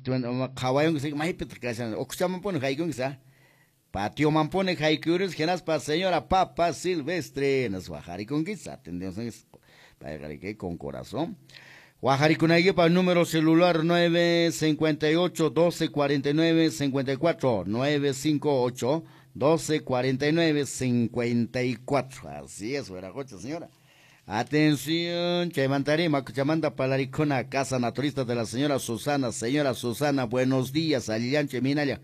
Qhawayunki maypitaq kashan ukuchamanpuni haykunki sa patiomanpuni haykuyurus hinaspa señora Papa Silvestre nas waqarikunki atendiusunki payqa riki con corazón. Waqarikunaykipaq número celular 958 12 49 54 958 12 49 54. Así es, wiraqucha señora. Atención, chaymantari makuchamanta palarikuna, casa naturista de la señora Susana. Señora Susana, buenos días, allillancho minalla.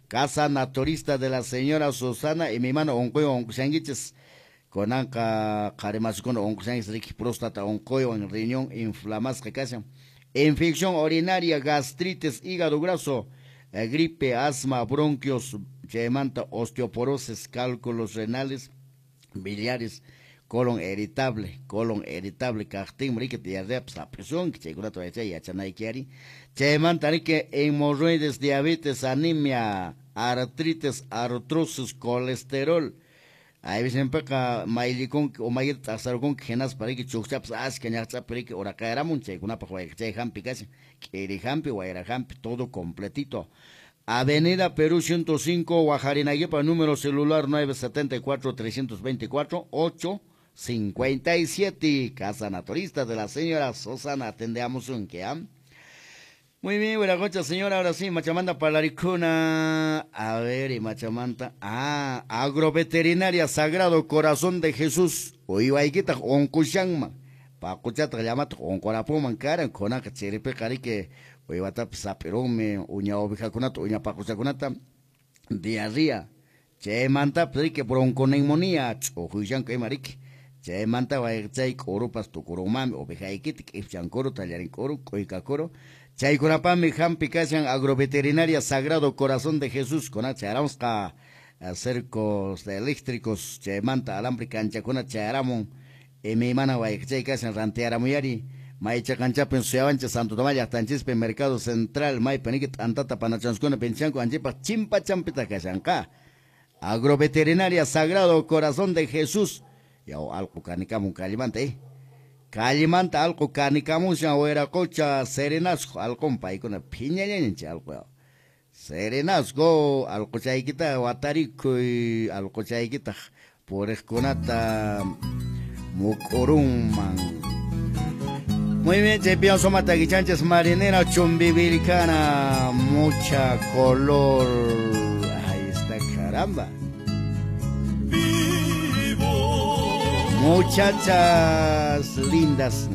Casa naturista de la señora Susana y mi mano onquywan onqushankichis. Kunanqa qharimasikuna onqushankichis riki próstata onquywan riñón inflamasqa kashan. Infección urinaria, gastritis, hígado graso, gripe, asma, bronquios, chaymanta osteoporosis, cálculos renales, biliares, colon irritable kaqtinmi riki diarreapas hap'isunki chaykunata waychay yachanayki ari. Chaymanta riki hemorroides, diabetes, anemia, artritis, artrosis, colesterol. Aypisinpiqa mayllikunki umaykita t'aqsarukunki hinaspa riki chukchapas achka ñaqch'api riki uraqayaramun chaykunapaq wayqichay hampi kashan k'iri hampi, wayra hampi, todo completito. Avenida Perú 105, Guajarinaguipa, número celular 974 324 857. Casa Naturista de la señora Susana, atendemos un que. Muy bien, buena señora, ahora sí, Machamanta Palaricuna. A ver, y Machamanta. Ah, Agroveterinaria Sagrado Corazón de Jesús. Uywaykita onkushanman. Paquchata llamata onqurapuman karan, kunaqa chiripiqa riki uywatapas sap'irunmi, uña ovejakunata, uña paquchakunata, diarrea. Chaymantapas riki bronconeumonía, ch'uqushanku ima riki. Chaymanta wayqichay k'urupas tukurunmanmi, ovejaykita k'ipchankuru, tallarinkuru, k'uykakuru. Chaykunapami hampi kashan Agroveterinaria Sagrado Corazón de Jesús, kuna chayaramusqa cercos eléctricos, chaymanta alambre kanchakuna chayaramun. Imaymana wayqichay kashan rantiaramuyari. Maycha kanchapin suyawancha Santo Tomás llaqtanchispi Mercado Central maypi niki t'antata panachanskuna pinchanku anchipaq chimpa champita kashanqa. Agroveterinaria Sagrado Corazón de Jesús. Yaw alqu kanikamun kallimanta Kallimanta alqu kanikamushan wiraqucha serenazgo alqun paykuna phiñallañanchik alqu. Serenazgo alquchaykita watarikuy alquchaykitaq puriqkunata muk'urunman. Muy bien, Chepión Soma Taquichanches, marinera chumbivilcana, mucha color. Ahí está, caramba. Vivo. Muchachas lindas.